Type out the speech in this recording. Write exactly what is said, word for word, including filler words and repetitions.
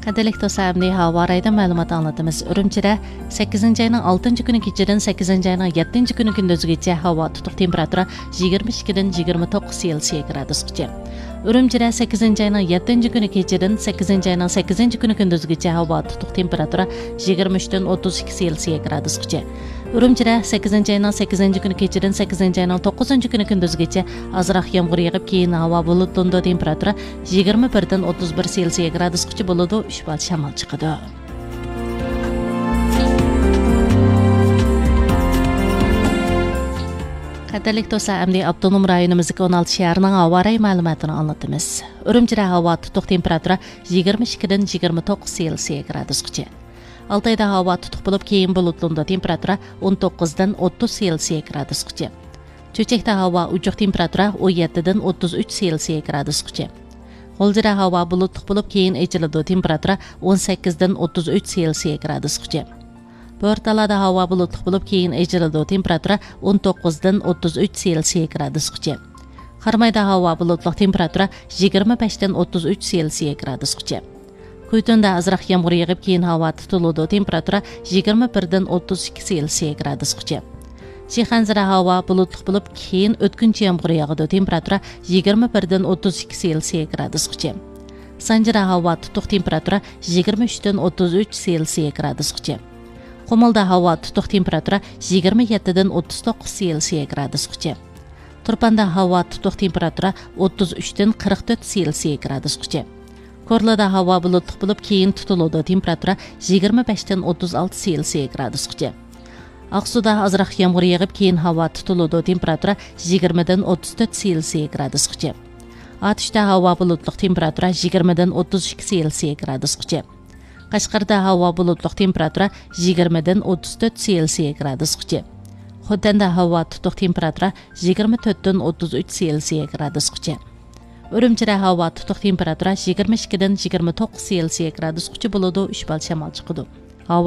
قەدىرلىك دوستلار، ئەمدى ھاۋا رايىدا مەلۇمات ئاڭلىتىمىز. ئۈرۈمچىدە سەككىزىنچى ئاينىڭ ئالتىنچى كۈنى كېچىدىن سەككىزىنچى ئاينىڭ يەتتىنچى كۈنى كۈندۈزگىچە ھاۋا تۇتۇق، تېمپېراتۇرا يىگىرمە ئىككىدىن يىگىرمە توققۇز سېلسىيە گرادۇسقىچە. ئۈرۈمچىدە سەككىزىنچى ئاينىڭ يەتتىنچى كۈنى كېچىدىن سەككىزىنچى ئاينىڭ سەككىزىنچى كۈنى كۈندۈزگىچە ھاۋا تۇتۇق، تېمپېراتۇرا يىگىرمە ئۈچتىن ئوتتۇز ئىككى سېلسىيە گرادۇسقىچە. ئۈرۈمچىدە سەككىزىنچى ئاينىڭ سەككىزىنچى كۈنى كېچىدىن سەككىزىنچى ئاينىڭ توققۇزىنچى كۈنى كۈندۈزگىچە ئازراق يامغۇر يېغىپ، كېيىن ھاۋا بۇلۇتلىنىدۇ، تېمپېراتۇرا يىگىرمە بىردىن ئوتتۇز بىر سېلسىيە گرادۇسقىچە بولىدۇ، ئۈچ بال شامال چىقىدۇ. قەدىرلىك دوستلار، ئەمدى ئاپتونوم رايونىمىزدىكى ئون ئالتە شەھەرنىڭ ھاۋا رايى مەلۇماتىنى ئاڭلىتىمىز. ئۈرۈمچىدە ھاۋا تۇتۇق، تېمپېراتۇرا يىگىرمە ئىككىدىن يىگىرمە توققۇز سېلسىيە گرادۇسقىچە. ئالتايدا ھاۋا تۇتۇق بولۇپ، كېيىن بۇلۇتلىنىدۇ، تېمپېراتۇرا ئون توققۇزدىن ئوتتۇز سېلسىيە گرادۇسقىچە. چۆچەكتە ھاۋا ئوچۇق، تېمپېراتۇرا ئون يەتتىدىن ئوتتۇز ئۈچ سېلسىيە گرادۇسقىچە. غۇلجىدا ھاۋا بۇلۇتلۇق بولۇپ، كېيىن ئېچىلىدۇ، تېمپېراتۇرا ئون سەككىزدىن ئوتتۇز ئۈچ سېلسىيە گرادۇسقىچە. بورتالادا ھاۋا بۇلۇتلۇق بولۇپ، كېيىن ئېچىلىدۇ، تېمپېراتۇرا ئون توققۇزدىن ئوتتۇز ئۈچ سېلسىيە گرادۇسقىچە. قارامايدا ھاۋا بۇلۇتلۇق، تېمپېراتۇرا يىگىرمە بەشتىن ئوتتۇز ئۈچ سېلسىيە گرادۇسقىچە. كۈيتۇندا ئازراق يامغۇر يېغىپ، كېيىن ھاۋا تۇتۇلىدۇ، تېمپېراتۇرا يىگىرمە بىردىن ئوتتۇز ئىككى سېلسىيە گرادۇسقىچە. شىخەنزىدە ھاۋا بۇلۇتلۇق بولۇپ، كېيىن ئۆتكۈنچى يامغۇر ياغىدۇ، تېمپېراتۇرا يىگىرمە بىردىن ئوتتۇز ئىككى سېلسىيە گرادۇسقىچە. سانجىدا ھاۋا تۇتۇق، تېمپېراتۇرا يىگىرمە ئۈچتىن ئوتتۇز ئۈچ سېلسىيە گرادۇسقىچە. قۇمۇلدا ھاۋا تۇتۇق، تېمپېراتۇرا يىگىرمە يەتتىدىن ئوتتۇز توققۇز سېلسىيە گرادۇسقىچە. تۇرپاندا ھاۋا تۇتۇق، تېمپېراتۇرا ئوتتۇز ئۈچتىن قىرىق تۆت سېلسىيە گرادۇسقىچە. كورلىدا ھاۋا بۇلۇتلۇق بولۇپ، كېيىن تۇتۇلىدۇ، تېمپېراتۇرا يىگىرمە بەشتىن ئوتتۇز ئالتە سېلسىيە گرادۇسقىچە. ئاقسۇدا ئازراق يامغۇر يېغىپ، كېيىن ھاۋا تۇتۇلىدۇ، تېمپېراتۇرا يىگىرمىدىن ئوتتۇز تۆت سېلسىيە گرادۇسقىچە. ئاتۇشتا ھاۋا بۇلۇتلۇق، تېمپېراتۇرا يىگىرمىدىن ئوتتۇز ئىككى سېلسىيە گرادۇسقىچە. قەشقەردە ھاۋا بۇلۇتلۇق، تېمپېراتۇرا يىگىرمىدىن ئوتتۇز تۆت سېلسىيە گرادۇسقىچە. خوتەندە ھاۋا تۇتۇق، تېمپېراتۇرا يىگىرمە تۆتتىن ئوتتۇز ئۈچ سېلسىيە گرادۇسقىچە. ئۈرۈمچىدە ھاۋا تۇتۇق، تېمپېراتۇرا يىگىرمە ئىككىدىن يىگىرمە توققۇز سېلسىيە گرادۇسقىچە بولىدۇ، ئۈچ بال شامال چىقىدۇ.